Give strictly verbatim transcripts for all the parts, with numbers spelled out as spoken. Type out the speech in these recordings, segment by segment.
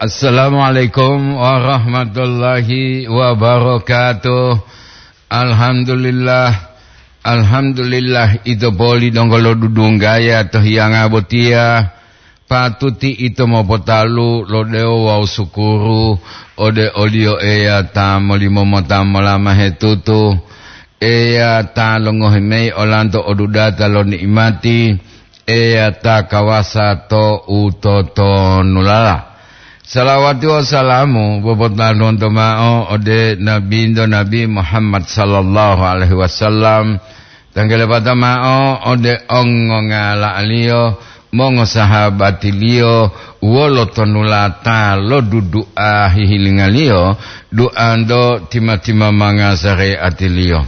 Assalamualaikum warahmatullahi wabarakatuh. Alhamdulillah. Alhamdulillah, ito poli donggo lodudunggaya to hiyanga botiya. Patuti ito mopotalu lo dewo wawu sukuru ode oliyo Eya ta molimo mota molamahe tutu. Eya ta longohi mayi olanto odudata lo ni'imati, Eya ta kawasa to utotonulala. Salawati wawu salamu popotantonto mao ode Nabinto Nabi Muhammad sallallahu alaihi wasallam, tanggalepata mao ode ongongala'aliyo, mongosahabatiliyo, wolo tonulata lo dudu'a hihilingaliyo, du'anto tima-timamanga sare'atiliyo.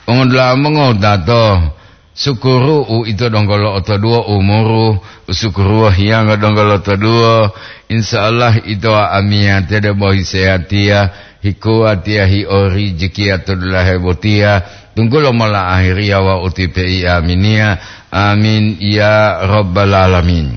Mongodula'a mongotato, sukuru uito donggo lo'otoduwo umuru, usukuruwo hiyanga donggo lo'otoduwo, insya Allah ito amiyate debo hisehatiya, hikuwatiya, hiorijiki to dulahe botiya, tunggulo mola ahiriya wawu utipe'i aminiya. Amin ya rabbal alamin.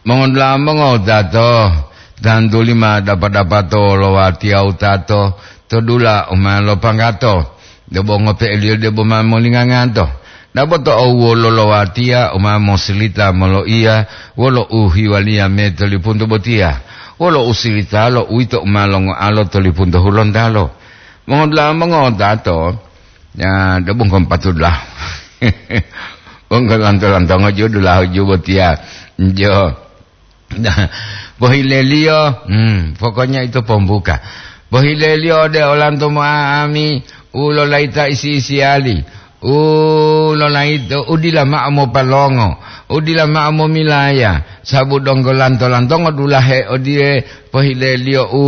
Mongodula'a mongotato, tantuli ma dapa-dapato lo watiya utato to dula u ma lopanggato, debo ngope'eliyo debo ma molinganganto. Dabo to owuwolo lo watiya u ma mosilita moloiya wolo uhiwaliya me to lipunto botiya, wolo usilitalo uwito u ma longoalo to lipunto hulontalo. Mongodula'a mongotato, ya, debo ngkompatulah. Wonggo lanto-lantongo ju dulahu ju botiya. Jo. Pohileliyo, hmm, pokoknya ito pombuka. Pohileliyo ode olanto mo'a'ami, u lolayita isi-isiyali, u lolayito, u dila ma'o mopalongo, u dila ma'o momilaya, sabu donggo lanto-lantongo dulahe odiye pohileliyo u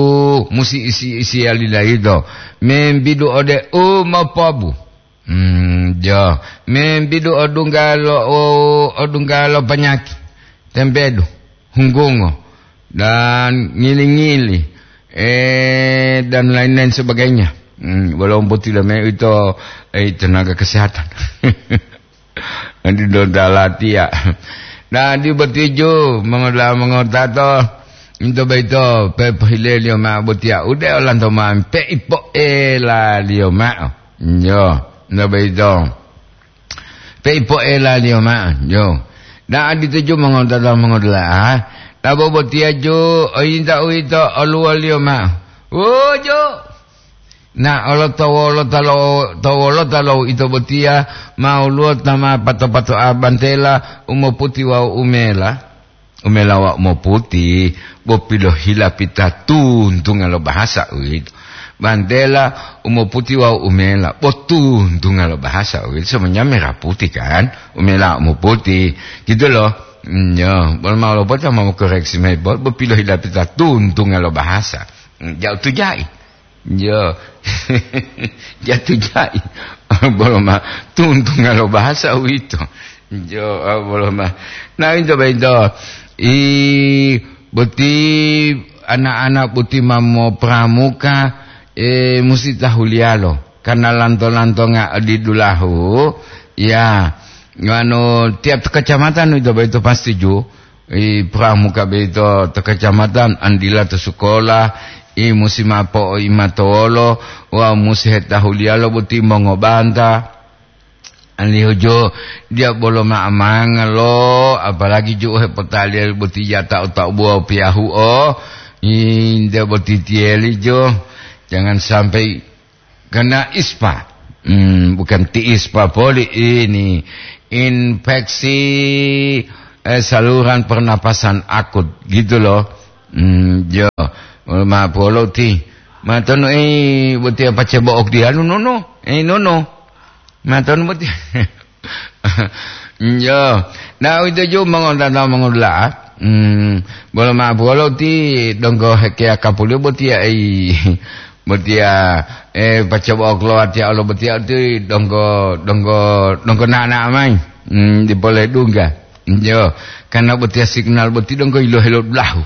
musi isi-isiyali layito, membidu ode u mopobu. Hmm, jo, membidu odungga lo, o-, odungga lo panyaki, tempedu, hunggungo, dan ngili-ngili, eh, dan lain-lain sebagainya. Hmm, walaupun tidak me-, itu, eh, tenaga kesehatan. Adi donggo latiya. Nah, di botiju, mongola-, mongotato, into boyito, pepohileliyo ma'o botiya, ude olanto ma'o, peipo'elaliyo ma'o. Yo, nto boyito. Peipo'elaliyo ma'o, yo. Da'a dituju mongotato mongodula'a, tabo botiya ju, oyinta uwito oluwoliyo ma'o. Wuju! Na olo to wolota lo, to wolota lo ito botiya, ma woluwo ta ma pato-pato'a bantela u moputi wawu umela. Umela wawu moputi, bo pilohilapita tuntunga lo bahasa uwito. Bantela u moputi wawu umela, bo tuntunga lo bahasa uwito. Semuanya merah putih kan? Umela wawu moputi. Gitu loh. Mm, yo, bolo mau lopota mau koreksi mayi, bo, bo pilohilapita tuntunga lo bahasa. Mm, ja'u tujai. Yo. Ja'u tujai. Bolo ma tuntunga lo bahasa uwito. Jo, ah, bolo ma. Nah, into boyito. I, boti anak-anak boti ma mopramuka, eh, musi tahuliyalo. Karena lanto-lantonga odi dulahu, ya, anu, tiap kecamatan itu boyito pasti ju, i pramuka boyito to kecamatan, andila to sekolah, i musi ma'o po'oimatowolo, wawu musi hetahuliyalo boti mongobanta. Alihu ju, dia bolo ma'amanga lo, apalagi ju hepotaliya boti jata o taubuwa piyahu'o, i nte boti tiyeli ju, jangan sampai kena ispa. Hmm, bukan ti ispa poli ini. Infeksi, eh, saluran pernapasan akut, gitu loh. Hmm, jo. Ma polo ti. Ma tonu, eh, boti apa cebo'ok dia, nono. Eh, nono. Ma tonu boti. Njo. Nah, uwito ju mongontata mongodula'a. Hmm, bolo ma'o bolo ti donggo hekeya kapuliyo botiya, ei, botiya, eh, pacoba oklowa tiya olo botiya ti donggo, donggo, donggo na'o-na'o mayi. Hmm, dipole dungga. Njo. Karena botiya signal boti donggo yilohe lo dulahu.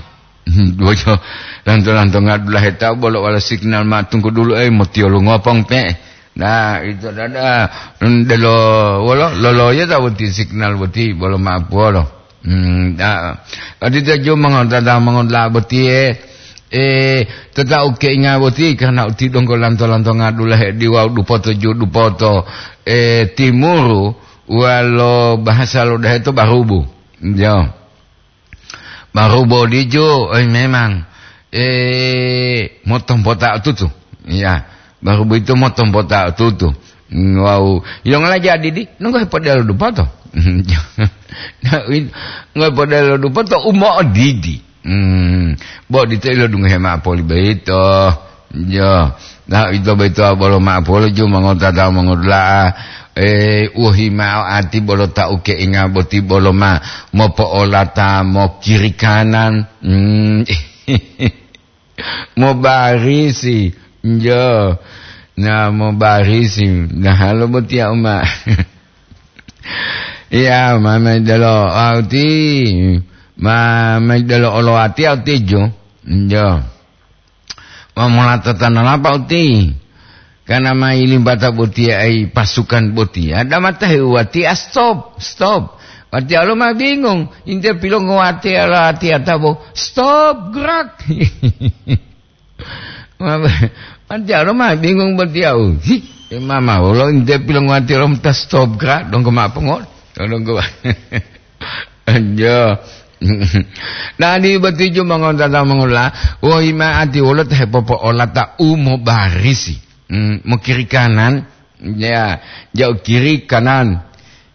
Hmm, bojo lanto-lanto ngadulahe tawu bolo wala signal ma tunggu dulu, eh, motiyolu ngopong pe'e. Nah, ito dada, hmm, delo, wolo, loloyo ta boti signal boti, bolo ma'o puwolo. Hmm, da, odito ju mongontata mongontala botiye, E, to ta ukeinga boti karena uti donggo lanto-lantonga dulahe diwau dupoto ju dupoto, e, timuru, walo bahasa lo dahe to barubu. Yo. Barubu dijo, oi, memang, e, motompota tutu. Ya, barubu itu motompota tutu. Wau, yongola jadi di, nunggu hepodelo dupoto. Nunggu hepodelo dupoto, umo didi. Hmm, bo dito ilo dungohe ma'o poli boyito. Yo, na ito boyito bolo ma'o polo ju mongotata mongodula'a. E, wohi ma'o ati bolo ta ukeinga boti bolo ma mopo'olata mo kiri kanan. Hmm, mobarisi. Yo, na mobarisi. Na halo boti ya uma. Iya, ma maidelo auti, ma maidelo olo ati autijo. Yo. Wa mola tatanalapa uti. Karena ma ilimbata botiya ai pasukan botiya. Ada mata heuwati, ah, stop, stop. Wati alo ma bingung. Inte pilongo wati alo ati atabo. Stop, gerak. Ma, ma, jalo ma bingung botiya, oh. Hi, mama, wolo inte pilongo wati alo ta stop gerak, donggo ma pongo. Donggo. Anjo. Nani boti ju mongontata mongola, wohi ma ati wolo ta hepopo'olata u mobarisi. Hmm, mo kiri kanan, ya, jauh kiri kanan,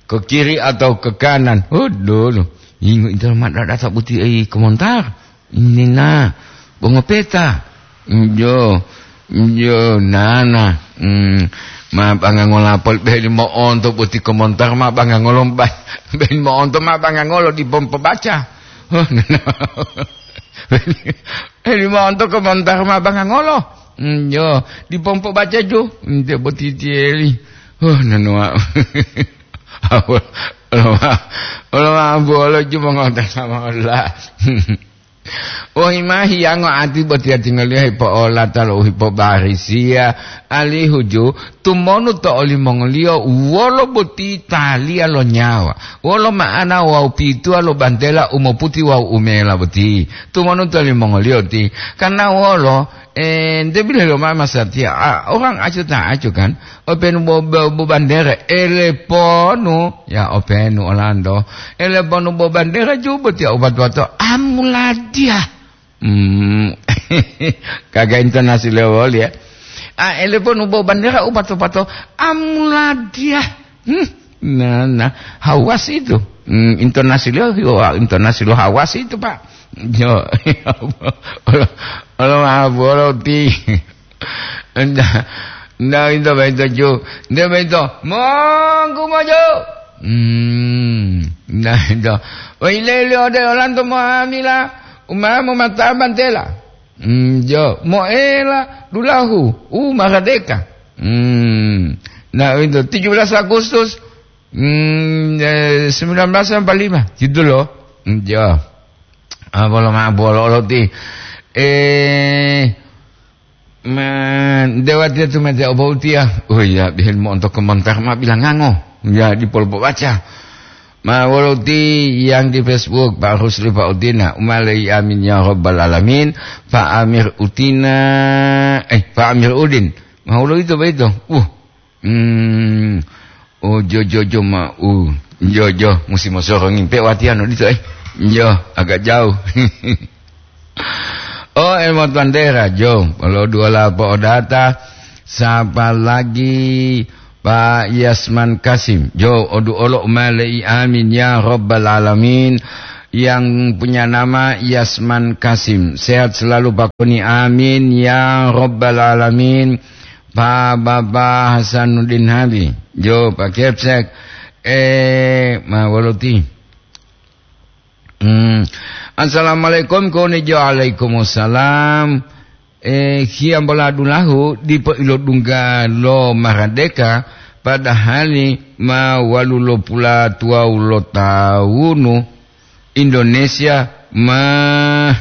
ke kiri atau ke kanan. Aduh, ingo intelo ma data buti ei komentar. Ini na, bongo peta. Injo, injo, nana. Hmm, ma bangangolo pol be limo onto buti komentar ma bangangolo ba-, be limo onto ma bangangolo di pompo baca. Oh, nana. Limo onto komentar ma bangangolo. Hmm, yo, di pompo baca ju, nte boti tieli. Oh, nanoa. Olo ma, olo ma bolo ju mongonta sama ola. Oh, imahi yango ati boti tinggal liya hipo ola talo hipo barisia. Alihu ju, tumonu to olimongoliyo wolo boti taliya lo nyawa. Wolo ma'ana wawu pituwa lo bantela u moputi wawu u mela boti. Tumonu to olimongoliyo ti, karna wolo, e, nte bile loma masatiya, a, orang acu ta acu kan, openu bo, bo, bo bandere, eleponu, ya openu Orlando, eleponu bo bandere ju boti ya ubat-bato, amuladiya. Hmm. Kaga intonasi lewol ya. A, eleponu bo bandera upato-pato, amuladiya. Hmm. Nah, nah, hawas itu. Hmm, intonasi lo, wah, intonasi lo hawas itu, Pak. Yo. Olo, olo, olo, ti. Nda, nda, itu, itu, ju. Nda, itu. Monggu mojo. Hmm. Nda, itu. Wah, ile, ile, ode, olanto mo amila. Umamu mata bantela. Hmm, jo, moela dulahu, u maradeka. Hmm, nah, itu tujuh belas Agustus, hmm, eh, sembilan belas empat lima, gitu loh. Hmm, jo. Ah, bolo ma-, bolo lo ti. Eh, ma-, dewa dia tu mete obo utia. Oh iya, bihen mo untuk komentar ma bilang ngango. Ya, di polpo baca. Ma wolo ti yang di Facebook, Pak Rusli, Pak Utina, umalei amin ya rabbal alamin, Pak Amir Utina, eh, Pak Amir Udin. Ma wolo itu, Pak itu. Uh, hmm, oh, jo, jo, jo, ma, uh, jo, jo, musim mosoro ngimpe watian odito, eh. Jo, agak jauh. Oh, Elmo Tandera, jo, lo dua lapo odata, sapa lagi Pak Yasman Kasim, jo, odu olo umalei amin ya rabbal alamin, yang punya nama Yasman Kasim, sehat selalu Pak Koni, amin ya rabbal alamin, Pak Baba Hasanuddin Habi, jo, Pak Kepsek, eh, ma wolo ti. Hmm. Assalamualaikum, koni jo alaikumussalam. Eh, hiyambola dulahu dipo ilodungga lo maradeka, padahali ma walu lo pula tuwawu lo tawunu Indonesia ma,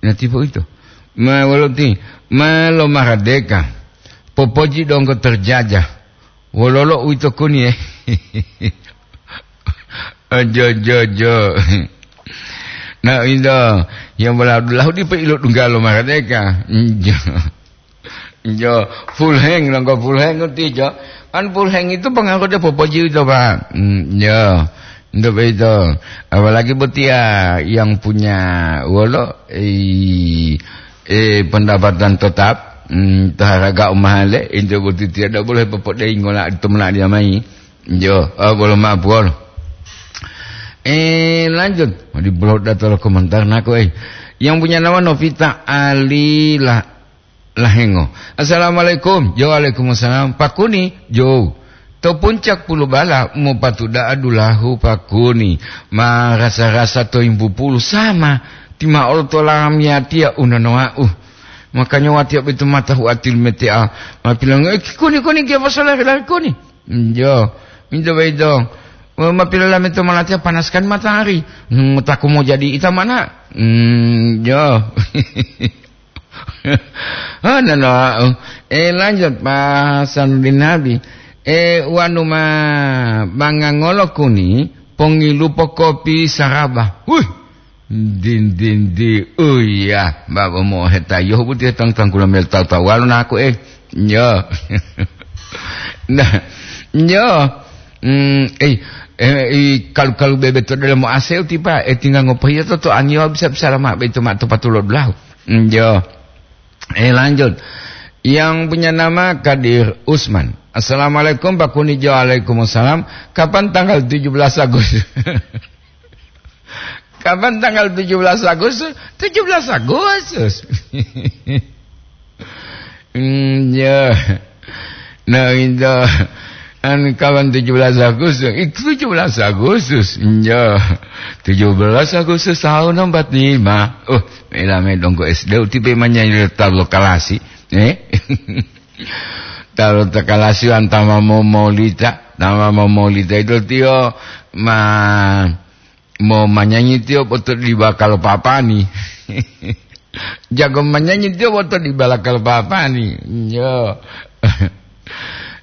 natipo ito. Ma walu ti, ma lo maradeka. Popoji donggo terjajah. Wololo uwito koni, eh? Ojo, jo, jo. Nah, itu. Yang bola dulahu dipo ilo dunggalo maradeka. Injo. Injo. Full hang, langgo full hang ngerti, Jo? Kan full hang itu pengaruh dia popoji itu, Pak. Hmm, ya. Untuk itu. Apalagi buat dia yang punya, wolo, eh, eh, pendapatan tetap, hmm, itu harga umahale, itu buat dia tidak boleh popodei ngola itu mena dia mai. Yo, ah, bolo maaf, bolo. Eh, lanjut. Di blog data lo komentar nako, eh. Yang punya nama Novita Ali lah, Lahengo. Assalamualaikum. Yo, waalaikumsalam. Pakuni, yo. To puncak pulu bala mopatu da'a dulahu pakuni. Ma rasa-rasa to imbu pulu sama. Tima olo to lamiyatiya unonowa'u. Makanya watiya betu mata huatil metea. Ma pilongo, eh, kuni, kuni, kia pasala kuni. Njo, minto boyito, ma pilolameta molatiya panas kan matahari, hmm, taku mojadi ita mana? Hmm, jo. Ah, nano, eh, lanjut, Pak Hasanuddin Nabi. Eh, wanu ma, bangangolo kuni, pongilupo kopi saraba. Wih, Din, din, di, oh iya, babo mohetayo boti tang-, tangkula mel tawu-tawuwalo naku, eh. Nyo. Nah, nyo. Hmm, eh, eh, i kalu-kalu bebe to dalam aseu tipa, eh, tinggal ngopohiya to, to angiwa bisa-bisa lama beto ma to patulo dulahu. Nyo. Eh, lanjut. Yang punya nama Kadir Usman. Assalamualaikum, Pak Kunijo. Waalaikumsalam. Kapan tanggal tujuh belas Agustus? Kapan tanggal tujuh belas Agustus? Tujuh belas Agustus. Hmm, ya. Nah, itu. Anu, kapan tujuh belas Agustus? Itu tujuh belas Agustus. Ya. Tujuh belas Agustus tahun empat lima. Oh, melame donggo S D utipe manyanyi talu kalasi. Eh? Talu kalasi antama momolita, tama momolita itu tio ma Mo manyanyi tiyo boto di bakal papani. Jago manyanyi tiyo boto di balakal papani. Yo.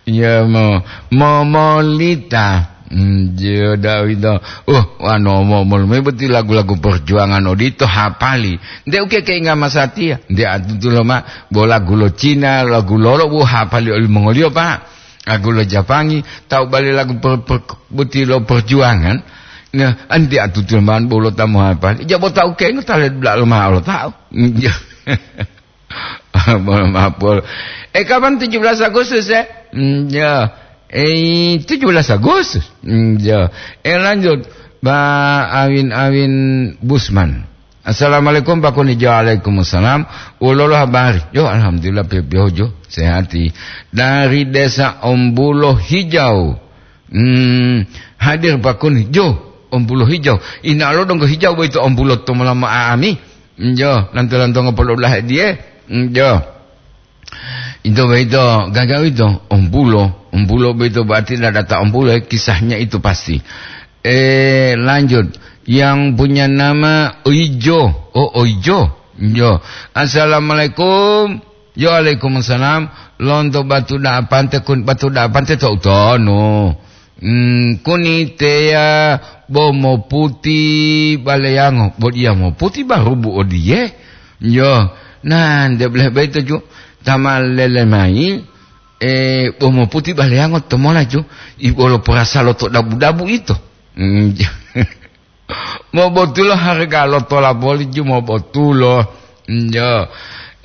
Yo, mo, mo molita. Hmm, yo, Dawido. Uh, wano mo, mo, me boti lagu-lagu perjuangan odito hapali. Nde uke keinga masatiya. Nde atutu lo ma, bo lagu lo Cina, lagu lolo, bu hapali oli mongoliyo, Pak. Lagu lo Japangi, tawu bali lagu per-, per-, boti lo perjuangan. Nah, anti atutu man bolo tamu apa? Jabo tawu kengo tale dula lo ma lo tawu. Bolo ma bolo. Eh, kapan tujuh belas Agustus, eh? Hmm, ya. Eh, tujuh belas Agustus. Hmm, ya. Eh, lanjut. Ba Awin-Awin Busman. Assalamualaikum, Pak Kunijo. Waalaikumsalam. Wololo habari? Yo, alhamdulillah, piyo-piyohu jo, sehati. Dari Desa Ombulo Hijau. Hmm, hadir, Pak Kunijo, Ombulo Hijau. Ina lo donggo hijau boyito ombulo to molama aami. Jo, lanto-lanto ngopolo ulahe diye. Jo. Itu boyito, gaga itu, ombulo. Ombulo boyito berarti dadata ombulo, ya, kisahnya itu pasti. Eh, lanjut. Yang punya nama Oijo. Oh, Oijo. Jo. Assalamualaikum. Yo, waalaikumsalam. Lonto batu dapante kun, batu dapante to utono. Hmm, kuni teya bo moputi baleyango. Bo dia moputi barubu odiye. Yo, nah, nde boleh baito ju. Tama lele mai, eh, bo moputi baleyango tomola ju. Ibolo porasa lo to dabu-dabu ito. Hmm, mobotulo harga lo tola boli ju mobotulo. Yo.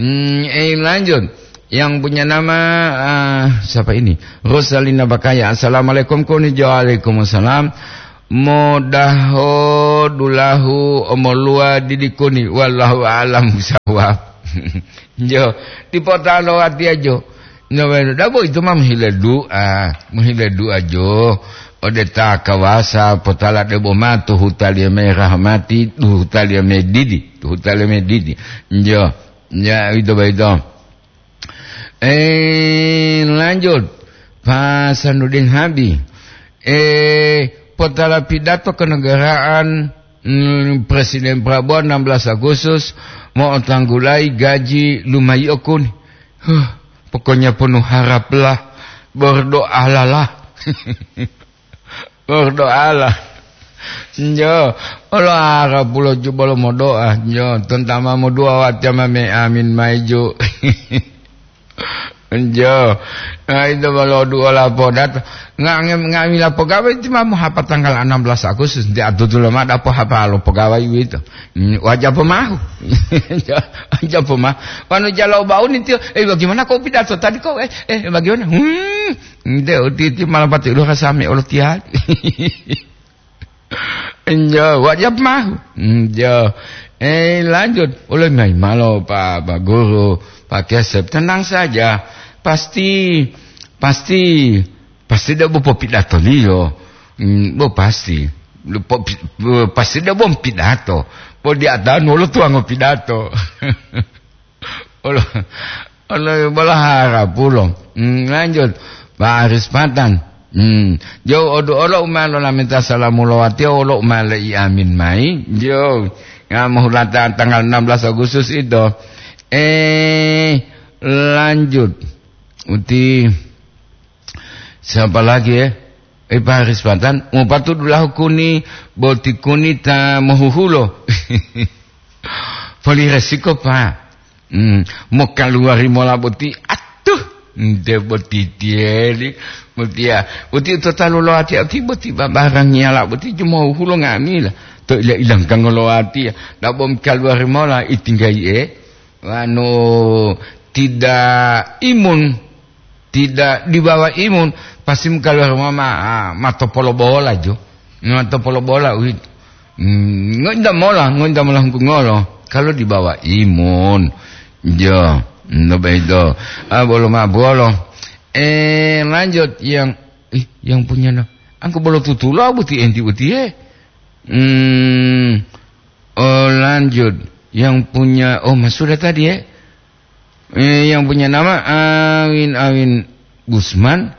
Hmm, eh, lanjut. Yang punya nama, ah, siapa ini? Rosalina Bakaya. Assalamualaikum, Kunijo. Waalaikumsalam. Modaho dulahu omoluwa didikuni. Wallahu a'lam bishawab. Jo, dipotalo watiya jo. Nowenu dabo itu ma mohile du'a, mohile du'a jo. Ode ta kawasa potala debo matu hutaliya me rahmati, hutaliya me didi, hutaliya me didi. Jo, ya itu baito. Eh, lanjut. Pak Sanudin Habi. Eh, potala pidato kenegaraan, hmm, Presiden Prabowo enam belas Agustus mo'otanggulayi gaji lumayi'o kuni. Huh, pokoknya penuh haraplah, berdoalah. Berdoalah. Jo, olo harapulo ju bolo modoa. Jo, tontama modoa watiya mame amin mayi ju. Jo, nah, ito bolo duo lapo dato. Nga-, nga-, nga'amila pogawa iti ma mohapa tanggal enam belas Agustus, nti atutulo ma dapo hapa lo pogawa uwito. Hmm, waja pomahu. Waja pomahu. Wanu jalo bauni tiyo, "Eh, bagaimana kau pidato tadi kau? Eh, eh, bagaimana?" Hmm, nte uti-uti malah pati ulo kasami olo tiali. Enjo, wajib mah. Enjo. Eh, lanjut. Ulun mayi malo, Pak, Pak Guru, Pak Kesep. Tenang saja. Pasti, pasti, pasti dia bo popidatoliyo. Hmm, bo pasti. Bo pi-, bo pasti dia bo pidato. Bo di atanu lo tuwango pidato. Olo, olo bola harapulo. Hmm, lanjut. Pak Aris Patan. Hmm. Jo odu olo uma lo lamenta salamu lo watiya olo uma le i amin mayi. Jo. Ya, mohulata tanggal enam belas Agustus itu. Eh, lanjut. Uti, siapa lagi, ya? Eh, Pak Aris Patan, mupatu dulahu kuni, boti kuni ta mohuhulo. Poli resiko, Pak. Hmm, mokaluwari mola boti, atuh, nte boti tiyeli, botiya, boti to talu lo ati, ati boti babarang ngiyala boti jumo hulo nga'amila. To ila-ilangkango lo atiya, dabo mokaluwari mola itinggayi'e, wanu tidak imun. Tidak dibawa imun, pasti mukaluwari ma, ma, ma topolo bola jo. Ma topolo bola uwito. Hmm, ngointa mola, ngointa mola hunggungolo. Kalau dibawa imun. Jo, no begitu. Ah, bolo ma bolo. Eh, lanjut yang, ih, yang punya na-, angku bolo tutulo buti enti uti, eh. Hmm, oh, lanjut. Yang punya, oh, Mas sudah tadi, eh. Eh, yang punya nama Awin, Awin Gusman.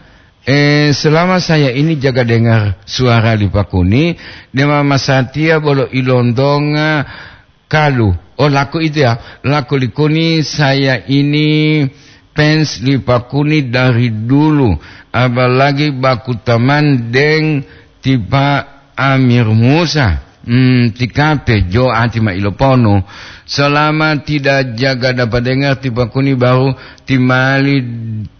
Eh, selama saya ini jaga dengar suara Lipakuni, dema Masatia bolo ilontonga kalu. Oh, laku itu ya, laku Likuni, saya ini fans Lipakuni dari dulu. Apalagi baku teman deng tipa Amir Musa. Hmm, tikape jo ati ma iloponu. Selama tidak jaga dapat dengar, tipa kuni baru timali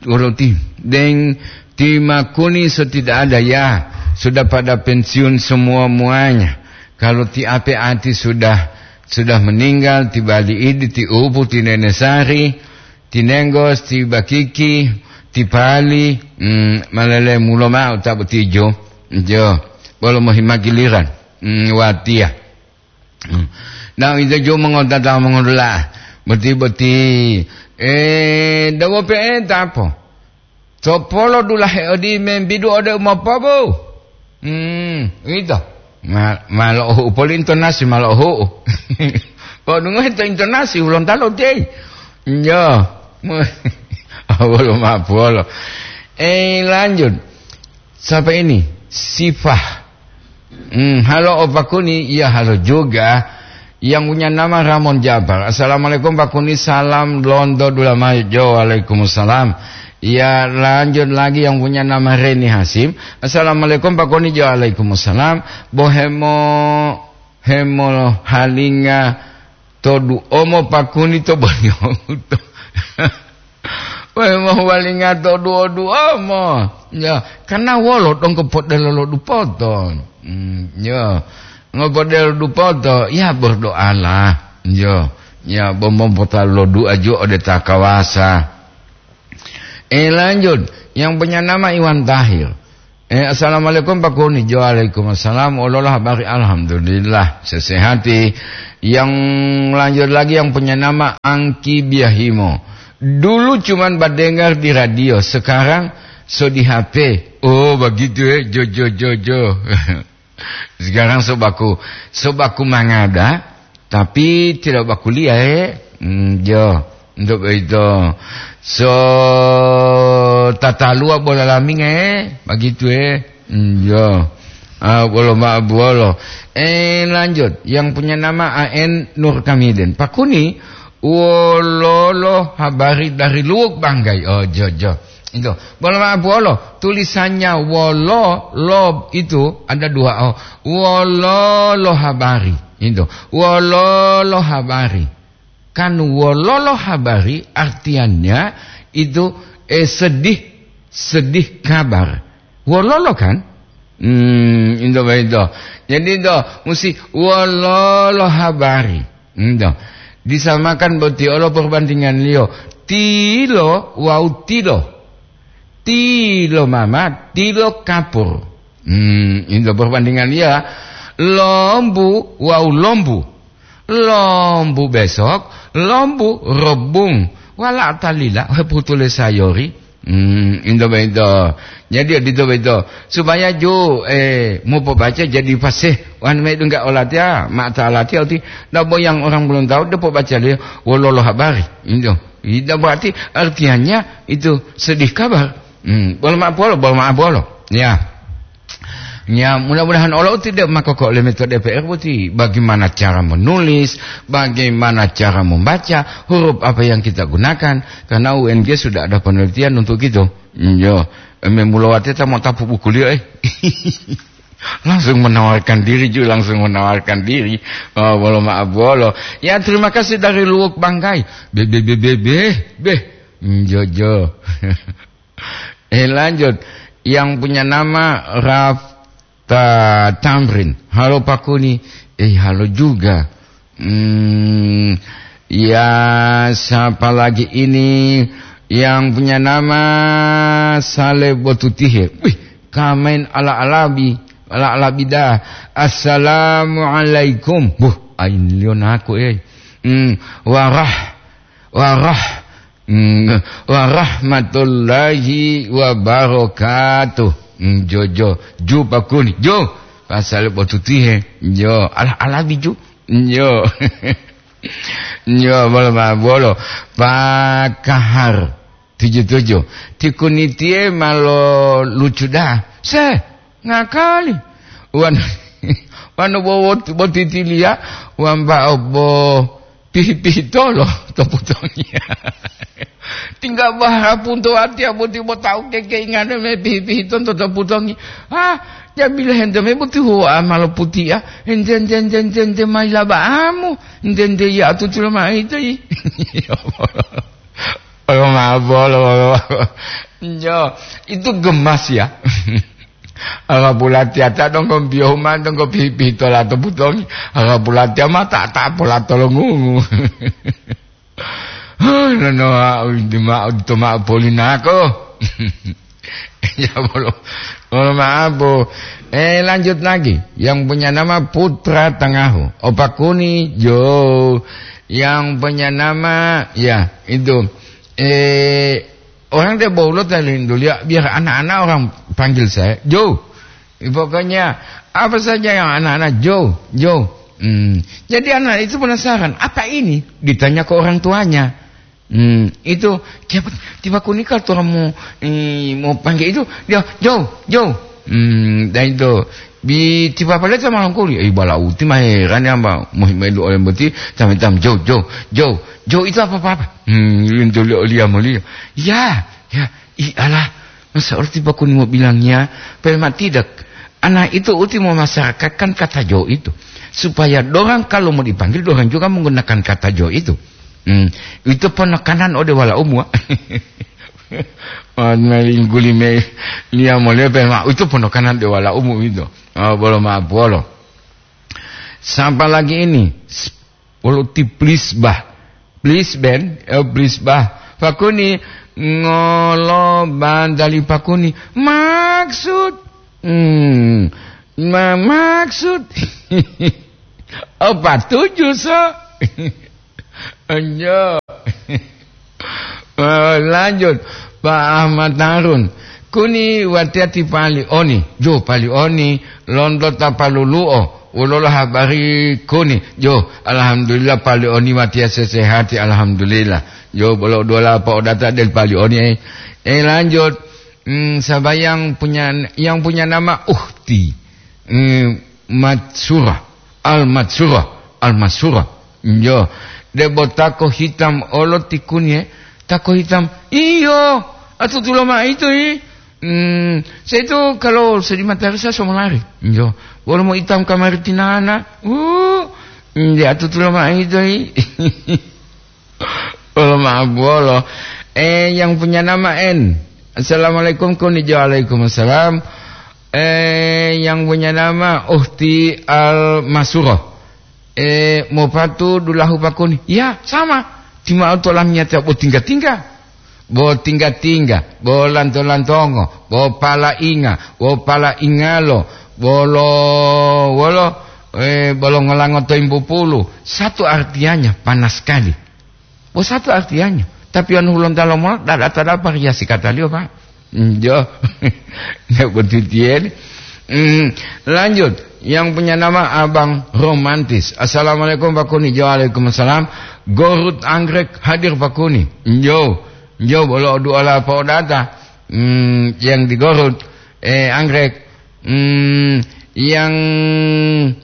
uroti. Deng, timakuni so tidak ada ya. Sudah pada pensiun semua muanya. Kalau ti ape ati sudah, sudah meninggal, ti bali idi, ti upu, ti nene sari, ti nenggos, ti bakiki, ti pali, hmm, malele mulo ma'o ta botijo. Jo, bolo mohimagiliran, mm, watiya. Mm. Nah, ito jo mongotata mongodula. Boti-boti, eh, dawo pe'e tapo. Topolo dulahe odi membidu ode umopobu. Hmm, ito. Ma, ma lo'ohu'u poli intonasi, ma lo'ohu'u. Podungohe to intonasi, ulontalo tei. Yo. Awolo ma puwolo. Eh, lanjut. Siapa ini? Sifah. Hmm, halo Opa Kuni, iya halo juga. Yang punya nama Ramon Jabar. Assalamualaikum Pak Kuni, salam lonto dulamayo. Jo, waalaikumsalam. Ya, lanjut lagi yang punya nama Reni Hasim. Assalamualaikum Pak Kuni, jo, waalaikumsalam. Bohemo, hemo halinga to du'omo Pak Kuni to bonyoto. Wai mohuwalinga to duo-duomo. Ya, karena wolo donggo podelo lo dupoto. Hmm, ya. Ngopodelo dupoto, ya berdoalah. Ya, ya, bomom potalu lo dua jo ode ta kawasa. Eh, lanjut. Yang punya nama Iwan Tahir. Eh, assalamualaikum Pak Kuni. Waalaikumsalam. Olola habari? Alhamdulillah, sesehati. Yang lanjut lagi yang punya nama Angki Biahimo. Dulu cuman badengar di radio, sekarang so di H P. Oh, begitu ya. Jo, jo, jo, jo. Sekarang so baku, so baku mangada, tapi tidak bakuliah, eh. Hmm, jo. Untuk itu, so tatalua bola laming, eh. Begitu, eh. Hmm, jo. Ah, bolo ma buolo. Eh, lanjut. Yang punya nama A N Nur Kamiden. Pak Kuni, wololo habari dari Luwuk Banggai? Oh, jo, jo. Itu. Bolo maaf, wolo. Tulisannya wolo, lo itu ada dua o. Wolo lo habari. Itu. Wolo lo habari. Kan wolo lo habari artinya itu, eh, sedih, sedih kabar. Wololo kan? Hmm, itu begitu. Jadi itu mesti wololo habari. Itu. Disamakan boti olo perbandinganliyo. Tilo wau tilo. Tilo mama, tilo kapur. Hmm, itu perbandinganliyo. Lombu wau lombu. Lombu besok, lombu rebung. Wala talila, heputule sayori. Hmm, into beito. Jadi, dito beito. Supaya ju, eh, mau pobaca jadi fasih. Wan me dungga olatiya, mata olatiya uti. Ndak boyang orang belum tahu, dia pobaca dia, wololo habari. Itu. Itu berarti artinya itu sedih kabar. Hmm, bolo maaf bolo, bolo maaf bolo. Ya. Ya, mudah-mudahan olo tidak mako ko le metode P R boti bagaimana cara menulis, bagaimana cara membaca, huruf apa yang kita gunakan, karena U N G sudah ada penelitian untuk itu. Yo, memulawati ta mau tapu buku liyo, eh. Langsung menawarkan diri juga, langsung menawarkan diri. Oh, bolo maaf bolo. Ya, terima kasih dari Luwuk Banggai. Be, be, be, be, be, be. Jojo. Eh, lanjut. Yang punya nama Rafta Tamrin. Halo Pak Kuni. Eh, halo juga. Hmm, ya, siapa lagi ini yang punya nama Saleh Botutihe? Wih, kamain ala-alabi, ala-alabi dah. Assalamualaikum. Buh, ain lion aku, eh. Hmm, warah, warah, hmm, warahmatullahi wabarakatuh. Hmm, jo, jo, ju Pak Kuni, jo. Pasal botutihe, jo, ala-alabi ju. Jo. Jo, bolo ma, bolo. Pak Kahar, tujuh tujuh. Ti Kuni tiye ma lo lucu dah. Se, ngakali. Wan, wanu bo, bo, botitiliya, wambao bo pihi-pihi tolo to putongi. Tingga bahapun to atiya boti bo tau kekeingan me pihi-pihi tonto to putongi. Ah, jabila hente me boti huwa ma lo putiya. Ente, ente, ente, ente, ente, maila ba'amu. Ente, ente, ya atutu lo ma ito yi. Ya Allah. Olo mabolo. Yo, itu gemas ya. Ala bulati ata donggo biyo huma donggo pihi-pihi tola to putongi. Ala bulati ama ta, ta pola tolongungu. Nono, au di ma, di toma polinako. Ya, bolo, bolo maaf, Bu. Eh, lanjut lagi. Yang punya nama Putra Tengahu. Opa Kuni, jo. Yang punya nama, ya, itu. Eh, orang dia bolo tadi dulu ya, biar anak-anak orang panggil saya, Jo. Pokoknya, apa saja yang anak-anak, Jo, Jo. Hmm. Jadi anak itu penasaran, "Apa ini?" Ditanya ke orang tuanya. Hmm, itu, "Siapa tiba kunika tu mau, eh, mau panggil itu?" Dia, "Jo, Jo." Hmm, dan itu, bi tiba pale sama langkuli, "Eh, bala uti mah heran ya, Mbak. Muhim elu oleh beti, tam-tam, Jo, Jo, Jo. Jo itu apa-apa?" Hmm, itu lihat mulia. "Ya, ya, ih, alah, masa orang tiba kuni mau bilangnya, pale mak tidak." Anak itu uti mau masyarakatkan kata Jo itu. Supaya dorang kalau mau dipanggil, dorang juga menggunakan kata Jo itu. Hmm, itu penekanan ode wala umua. Mali guli me lia molepe ma itu penekanan de wala umu itu. Oh, bolo ma bolo. Sapa lagi ini? Wolo ti please bah. Please ben, eh, please bah. Pakuni ngolo bandali pakuni. Maksud. Hmm, ma-, maksud. Apa tujuh so? Enjo. Eh, lanjut, Pak Ahmad Harun. Kuni watiya ti Pali Oni. Jo, Pali Oni, lonto ta palulu'o. Wolola habari kuni? Jo, alhamdulillah, Pali Oni watiya sesehati, alhamdulillah. Jo, bolo dola apa odata del Pali Oni, eh. Eh, lanjut. Hmm, saba yang punya, yang punya nama Uhti. Hmm, Matsura. Al-Matsura, Al-Matsura. Iyo, debo tako hitam olo ti kuni, eh? Tako hitam. Iyo, Atutulo ma'o ito, yi. Hmm, saya itu kalau sedih matahari saya semua lari. Yo, wolo mo itam kamari tinana. Uh, nde atutulo ma'o ito, yi. Wolo ma'o bolo. Eh, yang punya nama N. Assalamualaikum, konijo. Waalaikumsalam. Eh, yang punya nama Uhti Al Masuro. Eh, mopatu dulahu pakuni. Ya, sama. Tima'o to lamiyatiya bo tingga-tingga. Bo tingga-tingga, bo lanto-lantongo, bo palainga, bo palaingalo, bolo, wolo, eh, bolo ngolango to imbu pulu. Satu artinya panas sekali. Bo satu artinya. Tapi anu hulontalo mola, dada-dada variasi kataliyo, Pak. Njo. Ndak betul tiyen. Hmm, lanjut. Yang punya nama Abang Romantis. Assalamualaikum, Pak Kuni. Jo, waalaikumsalam. Gorut Anggrek hadir, Pak Kuni. Njo. Njo, bolo duala po data. Hmm, yang di Gorut. Eh, Anggrek. Hmm, yang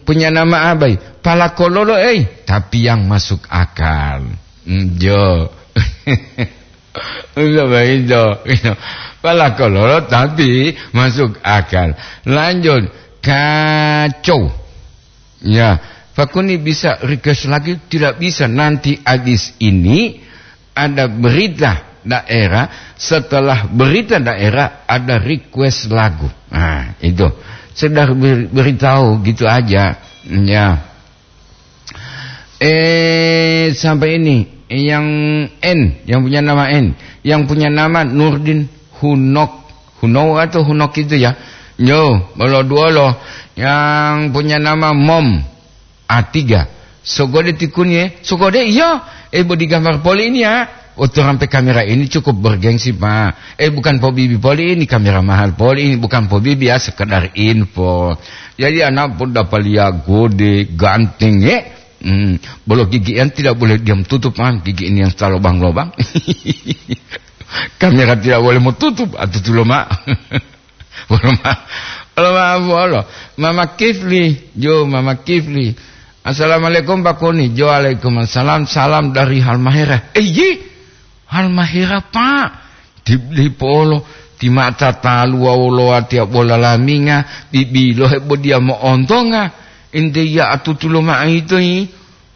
punya nama Abai. Palakololo, eh. Tapi yang masuk akal. Hmm, jo. Udah begitu. Palakololo tapi masuk akal. Lanjut. Kacau. Ya, Pak Kuni bisa request lagi? Tidak bisa. Nanti habis ini ada berita daerah. Setelah berita daerah ada request lagu. Nah, itu. Sekedar ber-, beritahu gitu aja. Ya. Eh, sampai ini, yang N, yang punya nama N, yang punya nama Nurdin Hunok, Huno atau Hunok itu ya. Yo, bolo duolo, yang punya nama Mom A tiga. Sogode tikuni, eh. Sogode, iya. Eh, bodi gambar poli ini ya. Otorampe kamera ini cukup bergengsi, Pak. Eh, bukan pobibi poli ini, kamera mahal poli ini, bukan pobibi ya, sekedar info. Jadi anak pun dapat lihat gode, ganteng, eh. Hmm, bolo gigian tidak boleh diam tutup, Pak. Gigi ini yang suka lobang-lobang. Kamera tidak boleh mau tutup, atau tulo, Mak. Wolo ma-, wolo ma-, wolo. Mama Kifli, jo, Mama Kifli. "Assalamualaikum, Pak Kuni." Jo, "Waalaikumsalam, salam dari Halmahera." Eh, yi, Halmahera, Pak. Di, di polo, ti mata talu wawu lowatiya bola laminga, bibilo hebo diya mo'ontonga. Ente ya atutulo ma'o ito, yi.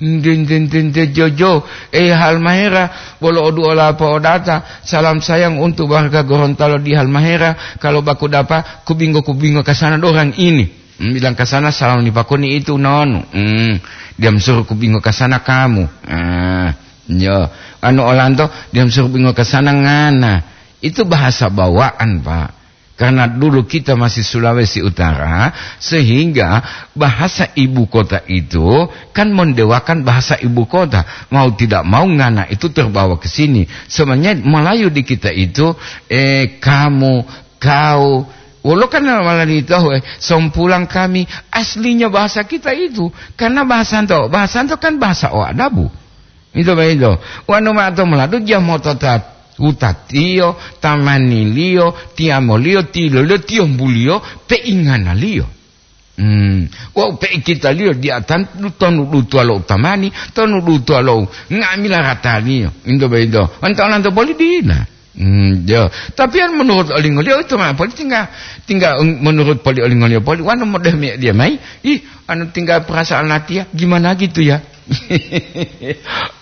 Nde, nde, nde, nde, Jojo, eh, Halmahera, bolo oduola po'odata, salam sayang untuk warga Gorontalo di Halmahera, kalau baku dapa, kubingo-kubingo kasana dorang ini. Hmm, bilang kasana, salam ni Pak Kuni itu, nonu. Hmm, diam suruh kubingo kasana kamu. Ah, yo, anu olanto, diam suruh bingo kasana ngana. Itu bahasa bawaan, Pak. Karena dulu kita masih Sulawesi Utara, sehingga bahasa ibu kota itu kan mendewakan bahasa ibu kota. Mau tidak mau, ngana itu terbawa ke sini. Sebenarnya Melayu di kita itu, eh, kamu, kau. Wolo kan malah ditahu, eh, sompulang kami. Aslinya bahasa kita itu. Karena bahasanto, bahasanto kan bahasa o adabu. Ito boyito. Wonu ma'o to moladu, jamota ta wutatiyo, tamaniliyo, tiyamoliyo, tiloliyo, tiyombuliyo, peinganaliyo. Hmm. Wawu peikitaliyo diatan tonu dutuwalo utamani, tonu dutuwalo nga'amila rataliyo. Ito boyito. Wonu to olanto boli dila. Hmm, yo. Tapi kan menurut olingoliyo itu mah poli tinggal, tinggal menurut poli olingoliyo poli. Wanu modeh mi dia mai. Ih, anu tinggal perasaan latihan. Gimana gitu ya?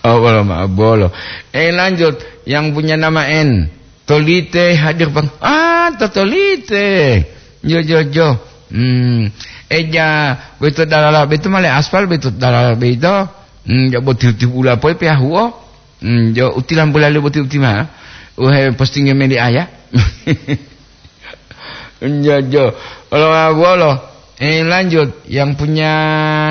Oh, bolo, maaf, bolo. Eh, lanjut. Yang punya nama N. Tolite hadir, Bang. Ah, to Tolite. Jo, jo, jo. Hmm. Eja, beto dalala, beto male aspal, beto dalala, beto. Hmm, ya boti tipu ula poi pe ahuo. Hmm, jo, utilang bulali boti utima. Uhe posting meli aya. Jo, jo. Olo, wolo. Eh, lanjut. Yang punya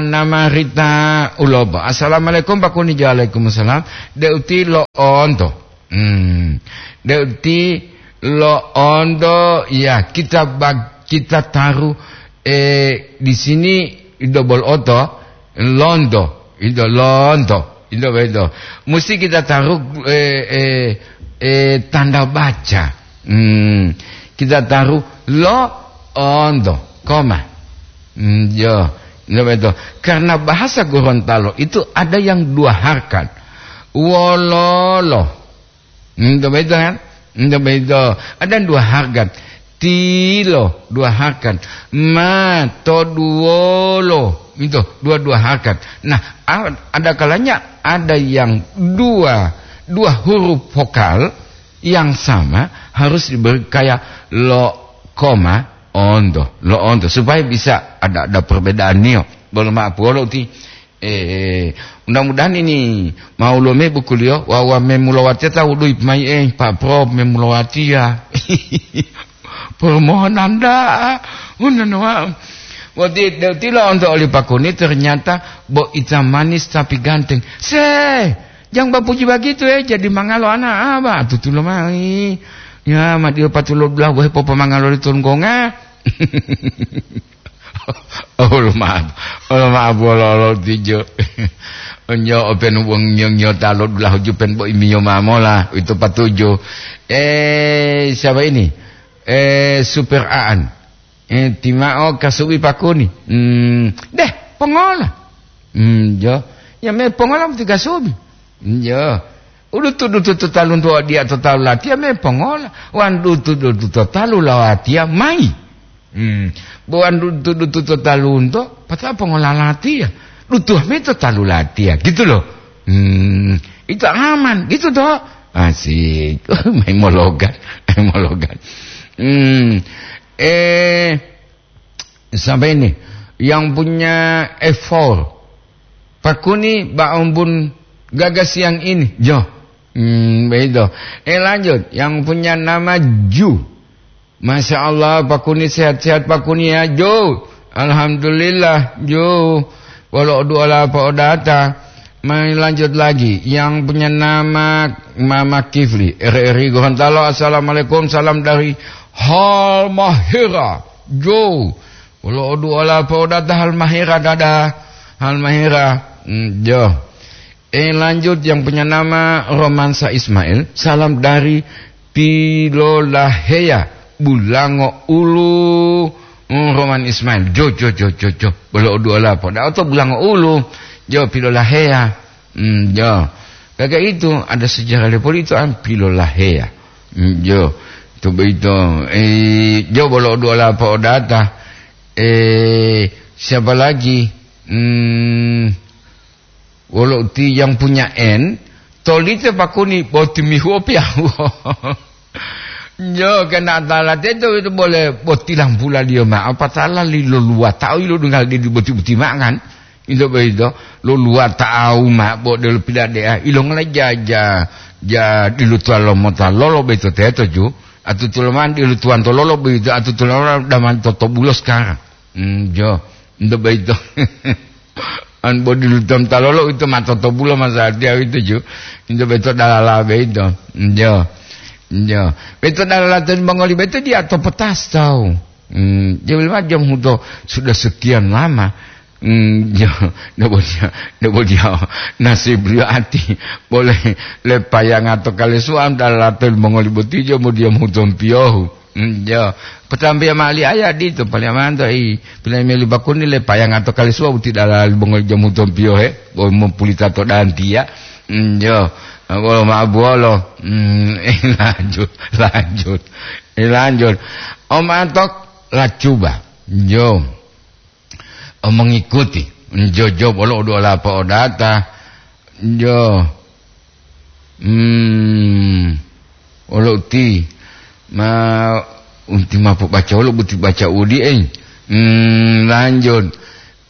nama Rita Ulobo. "Assalamualaikum, Pak Kuni." Waalaikumsalam. De uti lo onto. Hmm. De uti lo onto, ya, kita bag-, kita taruh, eh, di sini double oto, londo. Ito londo. Ito beto. Mesti kita taruh, eh, eh, eh, tanda baca. Hmm. Kita taruh lo onto, koma. Hmm, yo. Ito beto. Karena bahasa Gorontalo itu ada yang dua harkat. Wololo. Hmm, ito beto kan? Ento begitu. Ada dua harkat. Tilo, dua harkat. Ma, toduwolo. Itu, dua-dua harkat. Nah, a-, ada kalanya ada yang dua, dua huruf vokal yang sama harus diberi kayak lo, koma, onto, lo onto, supaya bisa ada, ada perbedaan nio. Bolo maaf, wolo ti, eh, mudah-mudahan ini mau lo me bukuliyo, wa, wa memulawateta wudui pemai, eh, Pak Prof memulawatia. Permohonan da'a, unan wa. Wati, de-, tilo onto oli pakuni ternyata bo ita manis tapi ganteng. Se, jangan bapuji begitu, eh, jadi mangalo anak apa? Tutulo mai. Ya, ma dio patulo belah wahe popomangalo di tonggonga. Oh, maaf. Oh, maaf, wolo-wolo tijo. Onyo open wong nyong nyota lo dulah jupen bo imiyo mamola, itu patuju. Eh, siapa ini? Eh, Super Aan. Eh, timao kasubi pakuni. Hmm, deh, pongola. Hmm, jo. Ya me pongola mesti kasubi. Hmm, jo. Udutu-dutu to talunto dia to talu latiya me pongola. Wan dutu-dutu to talu lawatiya mai. Hmm. Bo wan dutu-dutu to talunto, pata pongola latiya. Dutu me to talu latiya, gitu loh. Hmm. Itu aman, gitu toh. Asik. Main mologan. Main mologan. Hmm. Eh, sampai ini. Yang punya F four. Pakuni, ba'ombun gaga siang ini. Jo. Hmm, begitu. Eh, lanjut. Yang punya nama Ju. Masya Allah, Pakuni sehat-sehat Pakuni ya, Jo. Alhamdulillah, Jo. Wolo duala apa odata. Mari lanjut lagi. Yang punya nama Mama Kifli, R R I Gorontalo. Assalamualaikum, salam dari Halmahera, Jo. Wolo duala apa odata Halmahera, dada. Halmahera, mm, Jo. Eh, lanjut yang punya nama Romansa Ismail. Salam dari Pilolaheya, Bulango Ulu, mm, Roman Ismail. Jo, jo, jo, jo, jo. Bolo duala apa? Ndak oto Bulango Ulu. Jo, Pilolaheya. Mm, jo. Kagak itu, ada sejarah lepoli itu an Pilolaheya. Mm, jo. Itu begitu. Eh, jo, bolo duala apa odata? Eh, siapa lagi? Hmm, wolo uti yang punya N, tolite Pakuni boti mihuo piyahuo. Nyo, kena tala teto itu boleh botilang pula dia ma, apa tala li lo luwa tau ilo dengal di boti-boti mangan. Itu begitu, lo luwa tau ma bo de lo pila dea, ilo ngala ja, ja, ja di lo tua lo mota lolo beto teto ju, atu tuloman di lo tuan to lolo begitu, atu tuloman daman toto bulo sekarang. Hmm, jo, itu begitu. An bodi lutom talolo itu matoto bulo masadia itu ju. Itu beto dalala beito. Njo. Njo. Beto dalala ten mongoli beto dia to petas tau. Hmm, dia bilang jam huto sudah sekian lama. Hmm, jo, ndak boleh, ndak boleh dia nasib dia ati. Boleh lepayang atau kali suam dalala ten mongoli boti jo mo dia mutom piohu. Hmm, jo. Patampiya mali aya ditu, paling amanto i, pilameli bakuni le payanga to kali suwa uti dalali bongol jamu tompiyo he, bo mopulita to dantiya. Hmm, jo. Bolo ma buolo. Hmm, eh, lanjut, lanjut. Eh, lanjut. Om Antok lacuba. Jo. Oh, mengikuti. Njojo bolo udu ola po'odata. Njo. Hmm. Olo uti. Ma unti mapu baca olo buti baca udi, eh. Hmm, lanjut.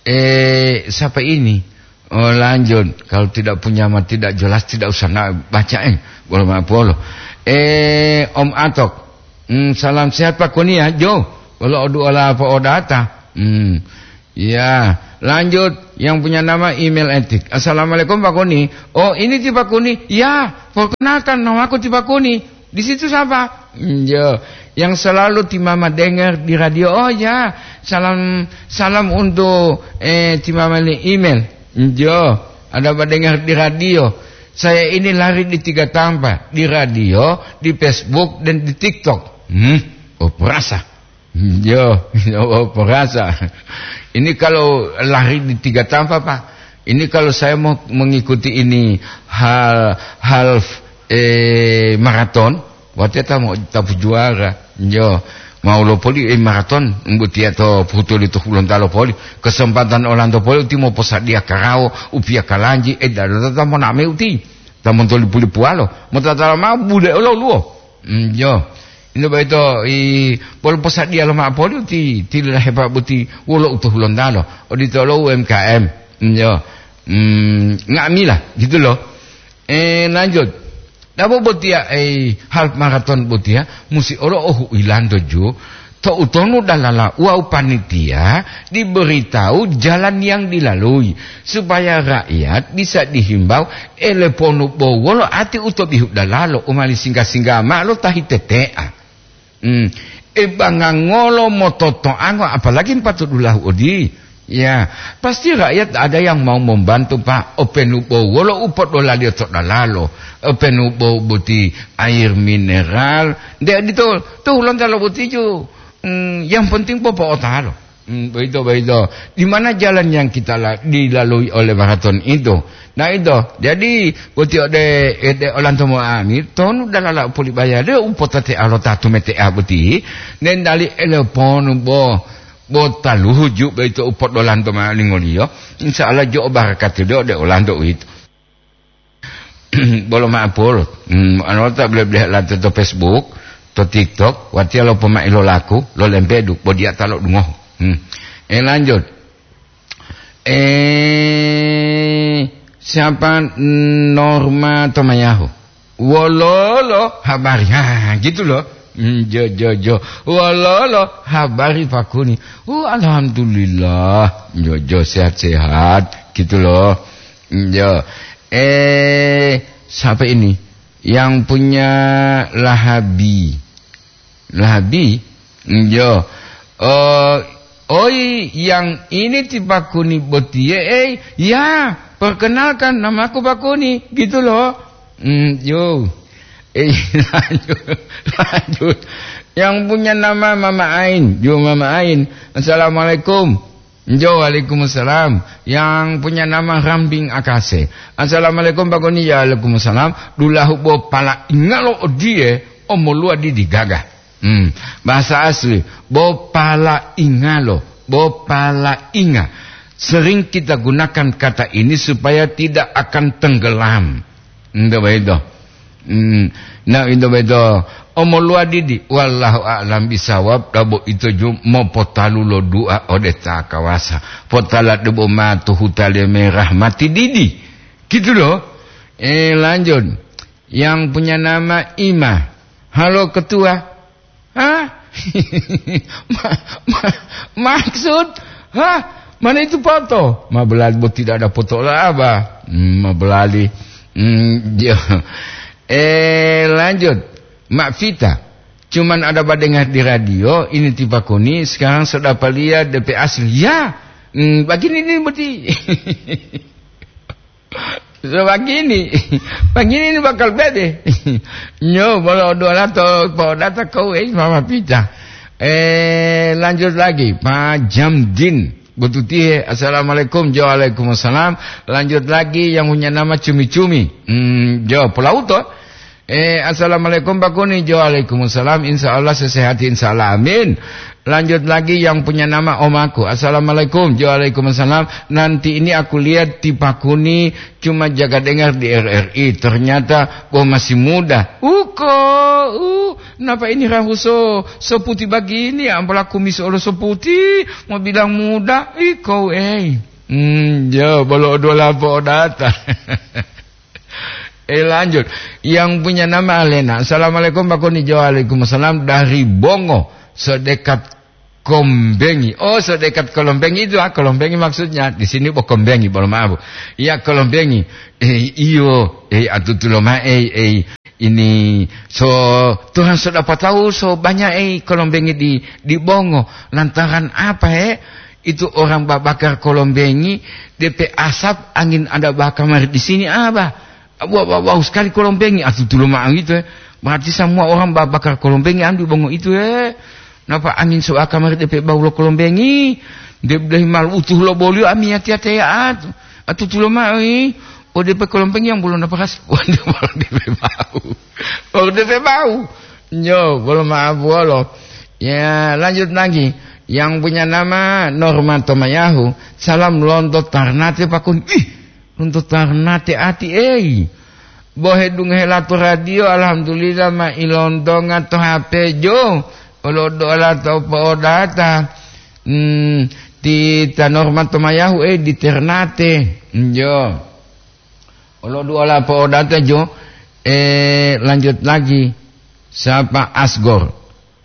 Eh, siapa ini? Oh, lanjut. Kalau tidak punya ma tidak jelas, tidak usah nak baca, eh. Bolo ma polo. Eh, Om Atok. Hmm, salam sehat, Pak Koni, ya, Jo. Bolo udu ola po'odata. Hmm. Ya, lanjut yang punya nama email etik. "Assalamualaikum, Pak Koni." "Oh, ini ti Pak Koni." "Ya, perkenalkan, nama aku ti Pak Koni." "Di situ siapa?" "Njo, yang selalu ti Mama dengar di radio." "Oh ya, salam, salam untuk, eh, ti Mama li email." "Njo, ada Pak dengar di radio." "Saya ini lari di tiga tampa, di radio, di Facebook, dan di TikTok." Hmm, oh, perasa. Yo, yo, perasa. Ini kalau lari di tiga tampa, Pak. Ini kalau saya mau mengikuti ini hal, half, eh, maraton, Watiya ta mo'otapu juwara, jo, mau lopoli, eh, maraton, umbuti to putuli to Hulontalo poli, kesempatan olanto poli uti moposadiya karawo, upiya kalanji, eh, dadota ta moname uti, ta montolipu-lipuwalo, motatala mao bude olo luwo. Mm, jo. Ino boyito, i, bolo posadiya lo mao poli uti, tilila hepa buti wolo u to Hulontalo, odito lo U M K M. Mm, jo. Mm, nga'amila, gitu loh. Eh, lanjut. Dabo botiya, eh, half marathon botiya musi olo ohu'ilanto ju, to'utonu dalala wawu panitia diberitahu jalan yang dilalui, supaya rakyat bisa dihimbau, eleponu bo wolo ati u to bihu dalalo u mali singga-singga ma'o lo ta hitetea. Hmm. E bangangolo mototoango, apalagi mpatu dulahu odi. Ya, pasti rakyat ada yang mau membantu, Pak. Openu bo wolo u podolaliyo to dalalo, openu bo boti air mineral, nde adito, to Hulontalo boti ju, hmm, yang penting popo'otalo. Hmm, begitu, begitu. Di mana jalan yang kita la-, dilalui oleh maraton itu? Nah, itu. Jadi, boti ode, ode olanto mo'ami, tonu dalala u polibaya de u potate'a lo ta tumete'a boti, nendali eleponu bo, bo taluhu ju boyito u podolanto mao lingoliyo. Insya Allah jo o barakati de ode olanto uwito. Bolo ma'apolo. Hmm, ano ta bele-bele lante to Facebook, to TikTok, watiya lo pomai lo laku, lo lempedu, bo diya ta lo dungohu. Hmm. Eh, lanjut. Eh, siapa Norma Tomayahu? Wololo habari? Ha, gitu loh. Hmm, jo, jo, jo. Wololo habari Pakuni? Oh, alhamdulillah. Jo, jo, sehat-sehat. Gitu loh. Hmm, jo. Eh, siapa ini? Yang punya Lahabi. Lahabi? Yo. Eh, oi, yang ini ti Pakuni botiye, ei. Ya, perkenalkan, namaku Pakuni, gitu loh. Hmm, yo. Eh, lanjut, lanjut. Yang punya nama Mama Ain, yo Mama Ain. Assalamualaikum. Jo, waalaikumsalam. Yang punya nama Rambing Akase. Assalamualaikum, Pakuni. Ya, waalaikumsalam. Dulahu bo pala ingalo odiye, omoluwa didi gaga. Hmm, bahasa asli, bo pala ingalo, bo pala inga. Sering kita gunakan kata ini supaya tidak akan tenggelam. Nto boyito. Hmm, na ito boyito. Omoluwa didi, wallahu a'lam bisawab, dabo ito ju mopotalu lo du'a ode ta kawasa. Potala debo ma to huta leme rahmati didi. Gitu loh. Eh, lanjut. Yang punya nama Ima. Halo, Ketua. Hah? Ma-, ma-, maksud? Hah? Mana itu foto? Ma belali, bo tidak ada foto lah, Abah. Hmm, ma belali. Hmm, dia. Eh, lanjut. Mak Vita. Cuman ada badengar di radio, ini ti Pakuni, sekarang sudah palia D P asli. Ya. Hmm, begini ini berarti. So, begini. Begini ini bakal bede. Nyo, bolo dua ratus po data kau, eh, Mama Pita. Eh, lanjut lagi, Pak Jamdin. Bututihe, assalamualaikum. Jo, waalaikumsalam. Lanjut lagi, yang punya nama Cumi-Cumi. Hmm, jo, Pulau to. Eh, assalamualaikum, Pak Kuni. Jo, waalaikumsalam. Insya Allah sehat, insya Allah. Amin. Lanjut lagi, yang punya nama omaku. Assalamualaikum. Jo, waalaikumsalam. Nanti ini aku lihat di Pak Kuni cuma jaga dengar di R R I. Ternyata, wah, masih muda. Uko, uh, kenapa ini rahu so, so putih begini? Ampala kumis olo so putih, mau bilang muda. Iko, eh. Hmm, jo, bolo dua lapo data. Eh, lanjut. Yang punya nama Alena. Assalamualaikum, Pak Kuni. Jo, waalaikumsalam. Dari Bongo, sedekat Kombengi. Oh, sedekat Kolombengi itu, ah, Kolombengi maksudnya. Di sini bo Kombengi, bolo maaf. Ya, Kolombengi. Eh, iyo, eh, atutulo ma-, eh, eh, ini, so, Tuhan sudah tahu, so banyak, eh, Kolombengi di, di Bongo. Lantaran apa, eh? Itu orang babakar Kolombengi, D P asap angin ada bakar mari di sini, apa? Wah, wah, wah, sekali Kolombengi, atutulo ma'o itu, eh. Berarti semua orang ba-, bakar Kolombengi, anu di Bongo itu, eh. Napa angin so'a kamari depe bau lo Kolombengi? De, de mal utuh lo bolio ami ati-ati ya atu. Atutulo ma'o, eh. Oh, depe Kolombengi yang belum napa ras. Wah, depe bau. Oh, depe bau. Yo, bolo maaf wolo. Ya, lanjut lagi. Yang punya nama Norma Tomayahu, salam lonto Tarnate, Pak Kun. Ih, lonto Tarnate ati, ei. Bo hedungohe lato radio, alhamdulillah, ma ilontonga to H P jo. Olo dola to po'odata. Hmm, ti ta Norma Tomayahu, eh, di Ternate. Yo. Olo dola po'odata jo. Eh, lanjut lagi. Siapa Asgor?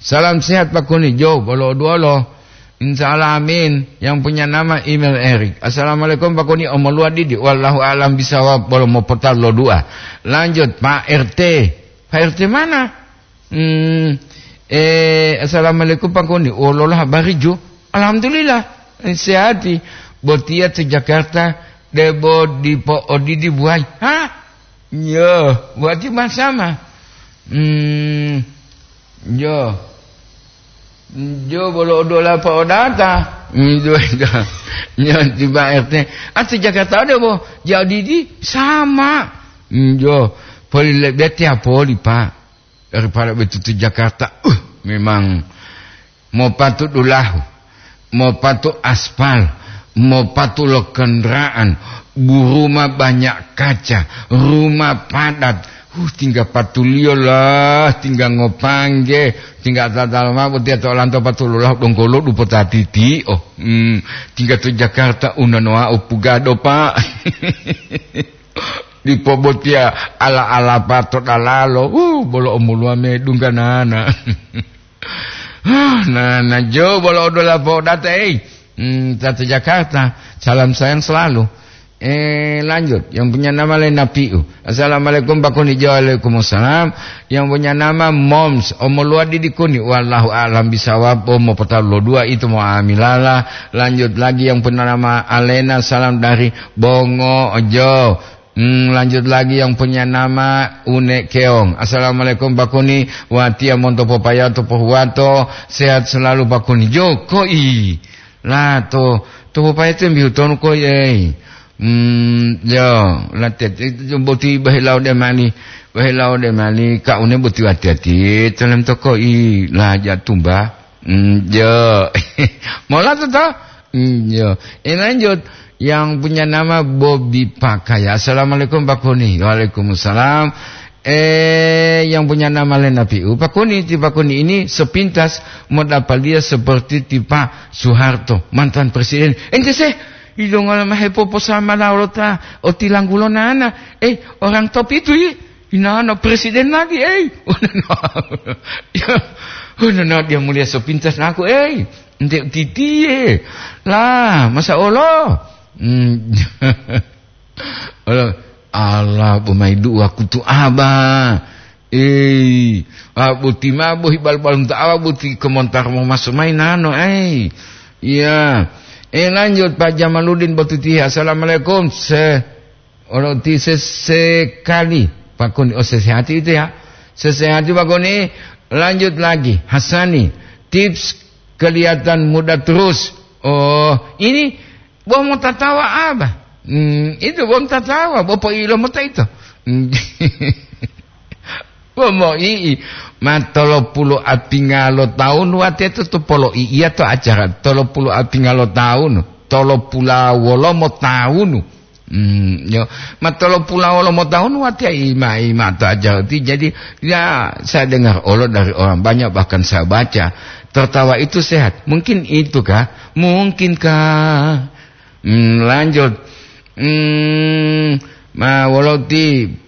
Salam sehat, Pak Kuni. Jo, bolo duolo. Insya Allah, amin. Yang punya nama email Erik. Assalamualaikum, Pak Kuni. Omoluwa didi. Wallahu a'lam bisawab. Bolo mopotalo dua. Lanjut, Pak R T. Pak R T mana? Hmm, eh, assalamualaikum, Pak Kuni. Wolola habari ju? Alhamdulillah. Eh, sehati. Botia to Jakarta. Debo dipo odidi buai. Hah? Yo, wati masama. Hmm, yo. Jo bolo odola pa odata. Hmm, jo, jo. Yo, tiba R T. Ati Jakarta ada bo. Jadi di sama. Hmm, jo. Poli lebih tiap poli, Pak. Daripada betutu Jakarta. Uh, memang mopatu dulahu, mopatu aspal, mopatu lo kendaraan, buruma banyak kaca, rumah padat. Uh, tinggal patuliyo lah, tinggal ngopangge, tinggal tatal mabo tiya to lanto patulolah dongkolo dupota titi. Oh, hmm, tinggal to Jakarta unanoa upugado, Pak. Dipo botiya ala-alapa to dalalo, uh, bolo omoluwa medungga nana. Huh, nana jo bolo odola podata, ei. Hmm, tata Jakarta, salam sayang selalu. Eh, lanjut, yang punya nama lain Napiu. Assalamualaikum, Pak Kuni. Jo, waalaikumsalam. Yang punya nama Moms, omoluwa didi Kuni. Wallahu a'lam bisawab. Oh, mau pertalu lo dua itu mau amilala. Lanjut lagi, yang punya nama Alena, salam dari Bongo Jo. Hmm, lanjut lagi yang punya nama Une Keong. Assalamualaikum, Pak Kuni. Watiya monto popayato pohuwato. Sehat selalu, Pak Kuni. Jo, koi. Lah, to, to popayato mbihu tonu koi, ei. Hmm, yo, latiya, boti bahilau de mali. Bahilau de mali, ka une boti wati-wati. Tolem to koi, lah, jatumba. Hmm, yo. Mola to, to? Hmm, yo. Eh, lanjut. Yang punya nama Bobi Pakaya. Assalamualaikum, Pak Kuni. Waalaikumsalam. Eh, yang punya nama Lena Piu. Pak Kuni, ti Pak Kuni ini sepintas modapaliya seperti ti Pak Soeharto, mantan presiden. Ente se, idongola mahepoposamala olota otilanggulo nana. Eh, orang top itu, i. Inana presiden lagi, ei. Ya, oh, no, no, dia mulia sepintas naku, ei. Ente titie. Lah, masa olo? Hmm. Olo, Allah, bo mai du'a kutu aba. Ei, ah, boti ma bohi bal-balunta awa boti komontar mo maso mai nano, ei. Iya. Eh, lanjut, Pak Jamaludin Botutihe. Assalamualaikum. Se-, Olo ti sesekali, Pak Kuni, oh, sesehati itu ya. Sesehati, Pak Kuni, lanjut lagi. Hasani, tips kelihatan muda terus. Oh, ini bo motatawa apa? Hmm, itu bo motatawa, bo poilo mota itu. Hmm. Bo moi'i, ma tolopulu apingalo taun wate to, to poloi'iya to acara tolopulu apingalo taun, tolopula wolomo taunu. Hmm, yo, ma tolopula wolomo taun watiya ima-ima to aja ti. Jadi, ya, saya dengar olo dari orang banyak, bahkan saya baca, tertawa itu sehat. Mungkin itu kah? Mungkin kah? Hmm, lanjut. Hmm, ma wolo ti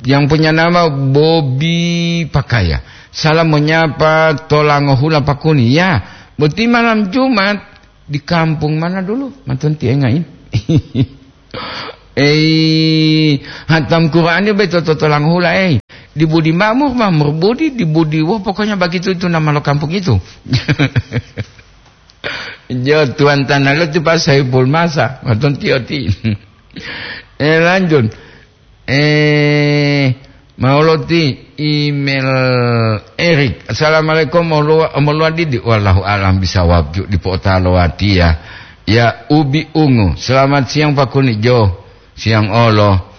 yang punya nama Bobi Pakaya. Salam menyapa Tolangohula Pakuni. Ya, boti malam Jumat di kampung mana dulu? Matonti engai. Ei, hatam Quran beto to Tolangohula, ei. Di Budi Makmur, Makmur Budi, di Budi, wah, pokoknya begitu itu nama lo kampung itu. Jo, tuan tanah lo tu Pak Saiful Masa, matonti oti. Eh, lanjut. Eh, mauloti email Erik. Assalamualaikum, moluwa, moluwa didi. Wallahu alam bisawab, ju di potalo watiya. Ya, Ubi Ungu. Selamat siang, Pak Kuni Jo. Siang olo.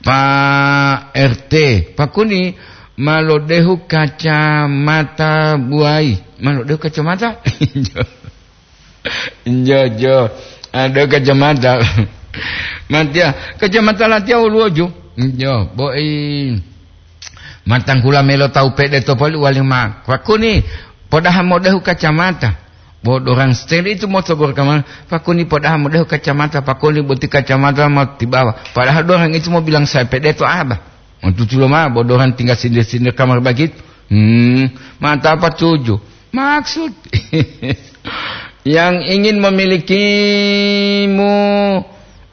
Pak R T, Pak Kuni, Ma lodehu kacamata buai. Ma lodehu kacamata? Jo, jo. Ada kacamata. Matia, kacamata latia uluoju. Jo, boi. Matanggula melo tau pede to poli wali ma. Pakuni, podaha modehu kacamata. Bo dorang steri itu mo tobor kamar. Pakuni podaha modehu kacamata. Pakuni boti kacamata ma tibawa. Padahal dorang itu mo bilang saya pede to aba. Mo tutulo ma, bo dorang tinggal sindir-sindir kamar begitu. Hmm, mata apa tuju? Maksud. Yang ingin memilikimu.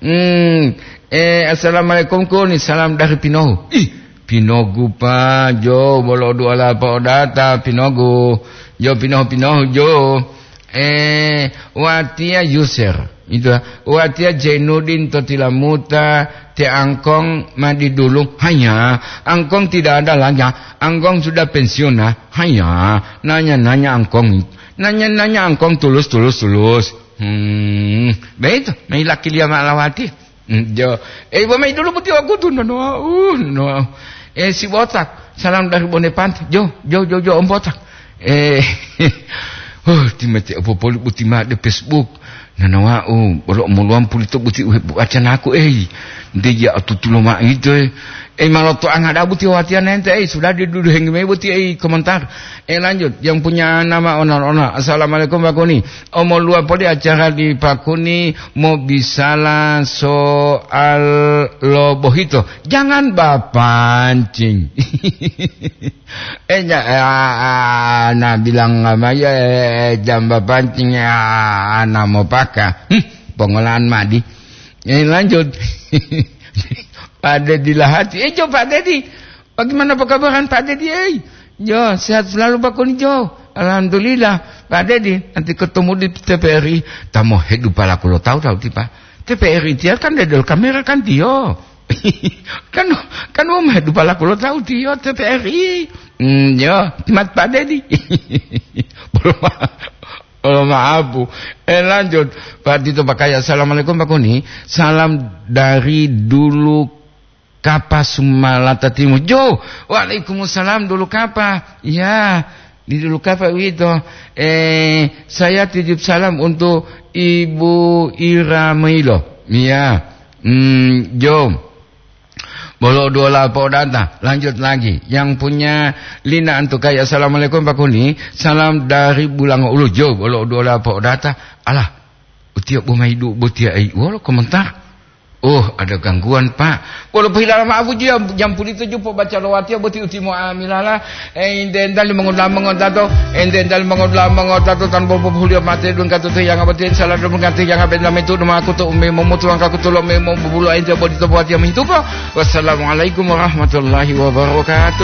Hmm, eh, assalamualaikum kuni, salam dari Pinohu. Ih, Pinogu pa, jo, bolo dua lapa odata, Pinogu. Jo, Pinohu, Pinohu, jo. Eh, watia user. Itu, watia Jainuddin to tilamuta, te angkong ma di dulu. Hanya, angkong tidak ada lagi. Angkong sudah pensiun, nah. Hanya, nanya-nanya angkong. Nanya-nanya angkong tulus, tulus, tulus. Hmm, begitu. Mailaki lia ma lawati. Hmm, jo. Eh, ibu mai dulu buti aku tu, no, no, uh, no. Eh, si botak. Salam dari Bone Pantai. Jo, jo, jo, jo, Om Botak. Eh, oh, timete opo poli buti ma de Facebook. Nanawa'u, bolo omoluwam pulito buti uhe-, wacanaku, ei. Nte ya atutulo ma'o ito, eh. Eh, maloto angada buti watiya nente, eh, sudah diduduhengi mayi buti, eh, komentar. Eh, lanjut, yang punya nama owner-owner. Assalamualaikum, Pak Kuni. Omoluwa poli acara di Pak Kuni, mau bisalah soal lo bohito. Jangan bapancing. Eh, nya-, eh, ah, ah, na bilang ma, ya, eh, jamba pancing, ya, ah, na mopaka. Hmm, pongolan madi. Eh, lanjut. Pak Dedi Lahati. Eh, jo, Pak Dedi. Bagaimana perkabaran Pak Dedi, eh? Jo, sehat selalu, Pak Kuni, jo. Alhamdulillah, Pak Dedi. Nanti ketemu di T P R I. Tamo hedu palaku lo tahu, tahu, tipa. T P R I tiya kan dedel kamera kan tiyo. Kan, kan wong mahe dupalaku lo tahu tiyo T P R I. Hmm, yo, mat Pak Dedi. Bolo ma-, bolo maaf, Bu. Eh, lanjut. Pak Tito Pakaya, "Assalamualaikum, Pak Kuni. Salam dari Dulu Kapa, Sumalata Timur." Jo, waalaikumsalam, Dulu Kapa. Ya, di Dulu Kapa uwito. Eh, saya titip salam untuk Ibu Ira Mailo. Ya. Hmm, jo. Bolo duola po'odata, lanjut lagi. Yang punya lina antukai, "Assalamualaikum, Pak Kuni. Salam dari Bulango Ulu." Jo, bolo duola po'odata. Alah, utiya bo mayi du botiya ai. Wolo komentar. Oh, ada gangguan, Pak. Wolo pohilala ma'apu ju jam, jam pulito ju pobaca lo watiya boti utimo amilala. Eh, ente entali mongodula mongotato, ente entali mongodula mongotato, tanpa populiyo mate dun katutu yang abati, salah dun katutu yang abati, lame tu duma kutu umi momutu angka kutu lo memo bubulu ente bodi to buat yang mihitupo. Wassalamualaikum warahmatullahi wabarakatuh.